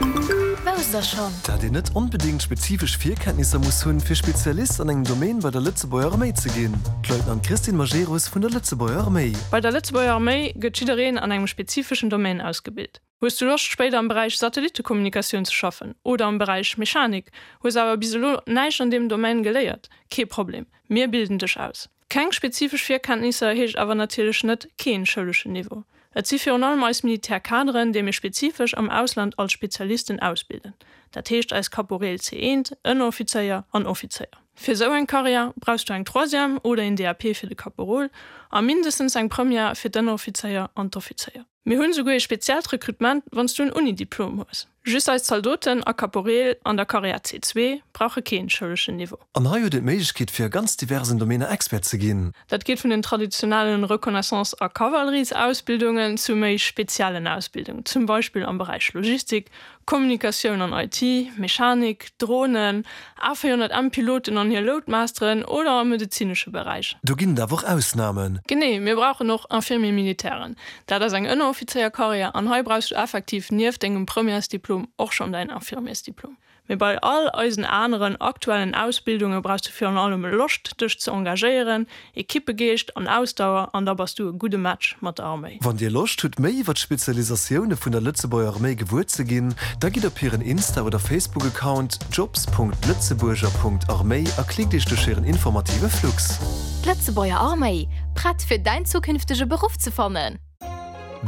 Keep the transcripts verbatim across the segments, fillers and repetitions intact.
Wousst der schonn? Dat een net onbedéngt spezifesch Virkenntnisser muss hunn, fir Spezialist an engem Domaine bei der Lëtzebuerger Arméi ze ginn. D'Leutnant Christine Majerus vun der Lëtzebuerger Arméi. Bei der Lëtzebuerger Arméi gëtt jiddereen an engem spezifeschen Domaine ausgebilt. Hues du Loscht spéider am Beräich Satellittekommunikatioun ze schaffen oder am Beräich Mechanik, hues awer bis elo näischt an deem Domaine geléiert? Kee Problem, mir bilden dech aus. Keng spezifesch Virkenntnisser heescht awer natierlech net keen schouleschen Niveau. Et si virun allem eis Militärkaderen, déi mir spezifesch am Ausland als Spezialisten ausbilden. Dat heescht eis Kaporeel C eent, Ënneroffizéier an Offizéier. Fir esou eng Karriär brauchs du eng Troisième oder een D A P fir de Kaporol a mindestens eng Première fir d'Ënneroffizéier an d'Offizéier. Mir hunn esouguer ee speziellt Rekrutement, wann s du en Unidiplom hues. Just eis Zaldoten a Kaporeel an der Karriär C zwee brauche keen schouleschen Niveau. An hei huet een d'Méiglechkeet fir a ganz diversen Domainer Expert ze ginn. Dat geet vun den traditionellen Reconnaissance a Kavalleriesausbildungen zu méi speziellen Ausbildungen, zum Beispill am Beräich Logistik, Kommunikatioun an I T, Mechanik, Dronen, A véierhonnert M Piloten an hir Loadmasteren oder am medezinesche Beräich. Do ginn et awer och Ausnamen. Genee, mir brauchen och Infirmier militairen. Dat ass eng Ënneroffizéierkarriär an hei brauchs du effektiv nieft dengem Premièresdiplom och schonn däin Infirmiersdiplom. Mee bei all eisen aneren aktuellen Ausbildunge brauchs du virun allem Loscht, dech ze engagéieren, Ekippegeescht an Ausdauer an da bass du e gudde Match mat der Arméi. Wann Dir Loscht hutt, méi iwwer d'Spezialisatioune vun der Lëtzebuerger Arméi gewuer ze ginn, da gitt op hiren Insta oder Facebook-Account jobs Punkt lëtzebuerger Punkt arméi a klickt Iech duerch hiren informative Flux. D'Lëtzebuerger Arméi, prett fir däin zukünftege Beruff ze fannen!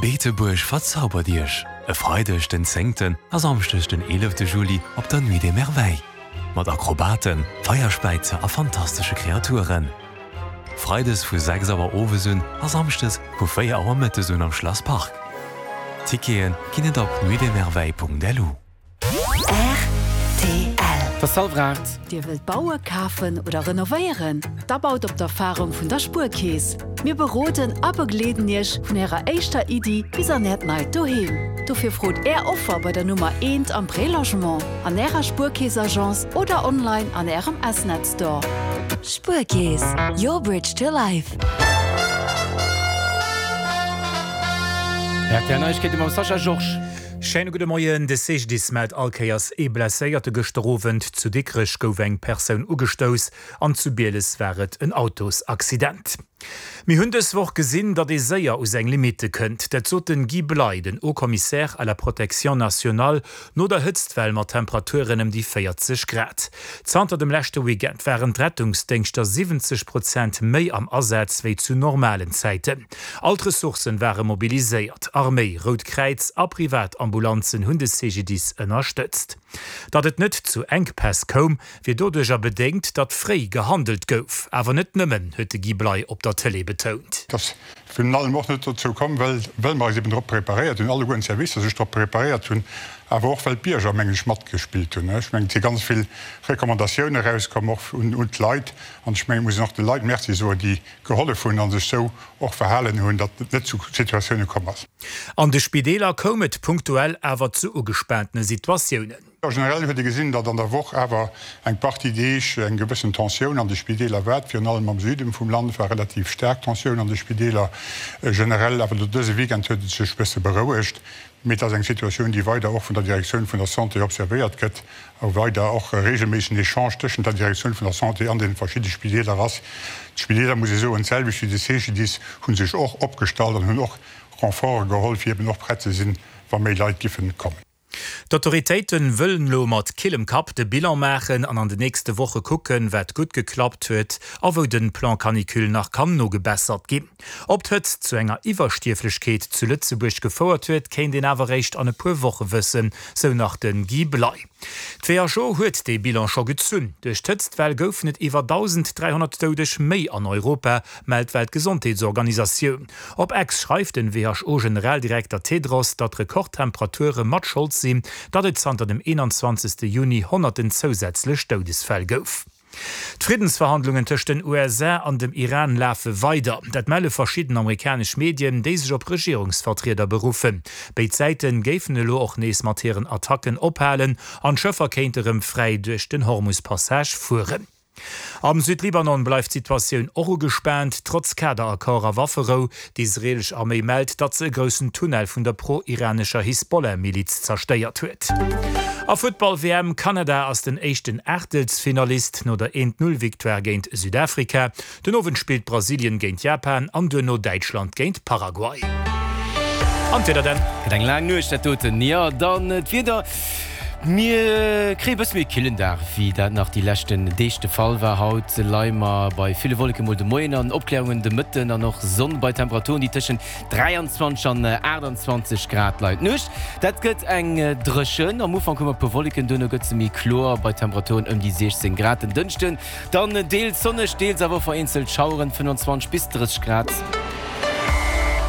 Beetebuerg verzaubert Iech! E Freideg den zéngten a Samschdeg den eelefte Juli op der Nuit des Merveilles. Mat Akrobaten, Feierspäizer a fantastesche Kreaturen. Freides vu sechs Auer owes un a Samschdes vu véier Auer mëttes un am Schlass Park. Tickete ginn et op nuitdesmerveilles punkt lu. R T L. Et ass hallwer aacht. Dir wëllt bauen, kafen oder renovéieren? Da baut op d'Erfarung vun der Spuerkeess. Mir beroden a begleeden Iech vun Ärer éischter Iddi bis an Äert neit Doheem. Dofir frot Är Offer bei der Nummer eent am Prélogement, an Ärer Spuerkeess-Agence oder online an Ärem S-Net Store. Spuerkeess, your bridge to life. R T L Neiegkeete mam Sascha Georges. Schéine gudde Moien. De C G D I S mellt all Kéiers ee Blesséierte. Gëschter Owend zu Dikrech gouf eng Persoun ugestouss an zu Bieles war et en Autosaccident. Mir hunn dës Woch gesinn, datt ee séier u seng Limitte kënnt. Dat sot den Guy Bley, den Haut-Commissaire à la protection nationale, no der Hëtztwell mat Temperaturen ëm déi véierzeg Grad. Zanter dem leschte Weekend waren d'Rettungsdéngschter siwwenzeg Prozent méi am Asaz wéi zu normalen Zäiten. All d'Ressourcen ware mobiliséiert. Arméi, Rout Kräiz a Privatambulanzen hunn de C G D I S ënnerstëtzt. Datt et net zu Enkpäss koum, wier doduercher bedéngt, datt fréi gehandelt gouf. Awer net nëmmen, huet de Guy Bley op der Tëlee betount. Datt virun allem och net dozou komm, well, well mer eis eben drop preparéiert hunn, alleguerten d'Servicer sech drop preparéiert hunn, awer och well d'Bierger, mengen ech, matgespillt hunn. Ech mengen, et si ganz vill Recommandatioune erauskomm, och un, un d'Leit. An ech mengen, et muss een och de Leit Merci soen, déi gehollef hunn a sech sou och verhalen hunn, datt et net zu Situatioune komm ass. An de Spideeler koum et punktuell awer zu ugespaantene Situatiounen. Generell huet ee gesinn, datt an der Woch awer eng Partie Deeg eng gewëssen Tensioun an de Spideeler war. Virun allem am Süden vum Land war relativ staark Tensioun an de Spideeler. Generell awer dëse Weekend huet et sech bësse berouegt. Mee et ass eng Situatioun, déi weider och vun der Direktioun vun der Santé observéiert gëtt, a weider och regelméissegen Echange tëschent der Direktioun vun der Santé an den verschiddene Spideeler ass. D'Spideeler, muss ee soen, d'selwecht wéi de C G D I S, hu sech och opgestallt an hunn och Renforte geholl, fir eben och prett ze sinn, wa méi Leit giffen kommen. D'Autoritéiten wëllen elo mat killem Kapp de Bilan maachen an an de nächste Woche kucken, wat gutt geklappt huet a wou den Plan Canicule nach kann nogebessert ginn. Ob d'Hëtzt zu enger Iwwerstierflechkeet zu Lëtzebuerg gefouert huet, kéint een awer réischt an e puer Woche wëssen, sou nach den Guy Bley. D'W H O huet dee Bilan scho gezunn. Duerch d'Hëtztwell goufen et iwwer dausend dräihonnert Doudeg méi an Europa, mellt d'Weltgesondheetsorganisatioun. Op X schreift den W H O-Generaldirekter Tedros, datt Rekordtemperature mat Schold sinn, datt et zanter dem eenanzwanzegste Juni honnerten zousätzlech Doudesfäll gouf. D'Friddensverhandlungen tëscht den U S A an dem Iran lafe weider. Dat melle verschidden amerikanesch Medien, déi sech op Regierungsvertrieder beruffen. Béid Säiten géifen elo och nees mat hiren Attacken ophalen an d'Schëffer kéinte rëm fräi duerch den Hormus-Passage fueren. Am Südlibanon bleift d'Situatioun och ugespaant, trotz Kaderaccord a Wafferou. D'israeelesch Arméi mellt, datt se e groussen Tunnel vun der pro-iranescher Hisbollah-Miliz zerstéiert huet. A Futtball-WM, Kanada ass den éischten Aachtelsfinalist no der Eent-Null-Victoire géint Südafrika. Den Owend spillt Brasilien géint Japan an duerno Däitschland géint Paraguay. An d'Wieder dann? Gëtt eng laang Nuecht dat doten. Jo, dann d'Wieder, Mir kréie bësse méi killen Dag wéi dat nach déi leschten Deeg de Fall war. Haut leie mer bei ville Wolleke mol de Moien an Opkläerungen de Mëtten an och Sonn bei Temperaturen déi tëschent dräianzwanzeg an aachtanzwanzeg Grad leien. D'Nuecht, dat gëtt eng dréchen, am Ufank hu mer e puer Wolleken, duerno gëtt se méi kloer bei Temperaturen ëm déi siechzéng Grad. Den Dënschden dann deels sonneg, deels awer och vereenzelt Schaueren, fënnfanzwanzeg bis drësseg Grad.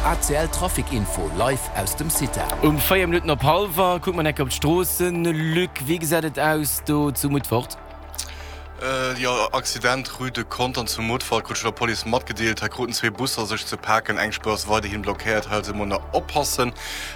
A C L Trafic Info live aus dem CITA. Um véier Minutten op hallwer kucke mer enk op d'Stroossen. Luc, wéi gesäit et aus do zu Mutfert? Jo, Accident Rue de Contern zu Mutfert, krut ech vun der Police matgedeelt. Hei kruten zwee Busser sech ze paken. Eng Spuer ass weiderhin blockéiert, hei also emol nach oppassen.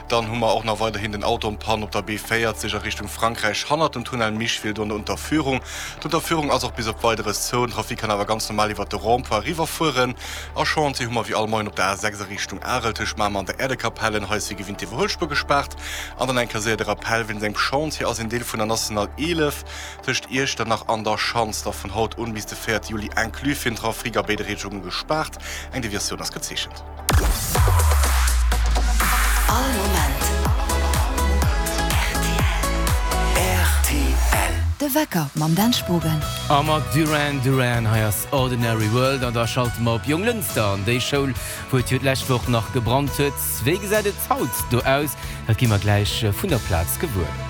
Dann hu mer och nach weiderhin den Auto en panne op der B véierzeg a Richtung Frankräich hannert dem Tunnel Micheville, do an der Unterführung. D'Unterführung ass och bis op Weideres zou. Den Trafic kann awer ganz normal iwwert de Rond-point eriwwerfueren. A Chantier hu mer wéi all Moien op der A sechs a Richtung Arel tëscht Mamer an der Äerdekapellen. Hei ass wéi gewinnt d'Iwwerhuelspuer gespaart. An dann eng Kéier séier de Rappell, Wéinst engem Chantier ass een Deel vun der National eelef tëscht Iechternach an der Schanz da vun haut un bis de véierte Juli inclus fir den Trafic a béide Richtungen gespaart. Eng Deviatioun ass gezeechent. All Moment rtl. De Wecker mam Dan Spogen. A mat Duran Duran, hei ass Ordinary World an da schalte mer op Jonglënster an déi Schoul, wou et jo d'lescht Woch nach gebrannt huet. Wéi gesäit et haut do aus? Dat gi mer gläich vun der Plaz gewuer.